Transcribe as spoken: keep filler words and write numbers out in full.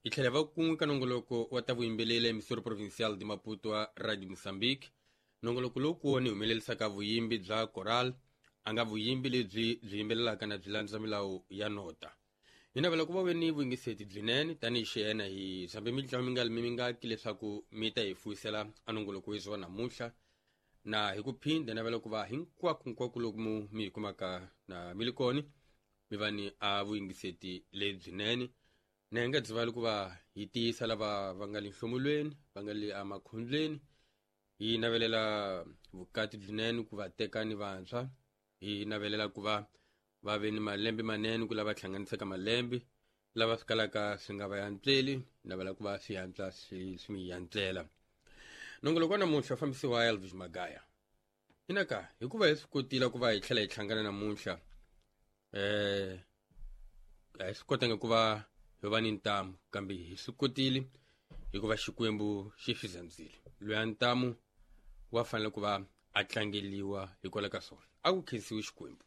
Hi tlhela va kun'we ka nongoloko wa ta vuyimbeleri emisoro provincial de Maputo wa Radio Mozambique. Nongoloko lowu kuwona hi humelerisaka vuyimbi bya coral, a nga vuyimbi lebyi byi yimbelelaka na byi landza milawu ya nota. Hi navela ku va ve ni vuyingiseti byinene tanihi xiyena hi zambe mitlawa mi nga mi mingaki leswaku mi ta hi fuyisela a nongoloko wezi wa namuntlha. Na hi ku phinda navela ku va hinkwako hinkwako loku mu mi hi kumaka na mi li kona mi va ni a vuyingiseti lebyinene. Na hi nga dzivali ku va hi tiyisa lava va nga le nhlomulweni, va nga le emakhombyeni, hi navelela vukati byinene ku va teka ni vantshwa, hi navelela ku va va ve ni malembe manene ku lava hlanganisaka malembe, lava swi kalaka swi nga va yantsweli, navela ku va swi yantswa swi swi mi yantlela. Nongoloko wa namuntlha fambisiwa Elvis Magaya. Inaka hikuva hi swi kotile ku va hi tlhela hi hlangana namuntlha, eh a hi swi kotanga ku va hi va ni ntamu, kambe hi swi kotile hikuva Xikwembu xi swi zandzile. Loyi a ntamu wa fanele ku va a tlangeliwa hikwalaho ka swona. A ku khensiwi Xikwembu.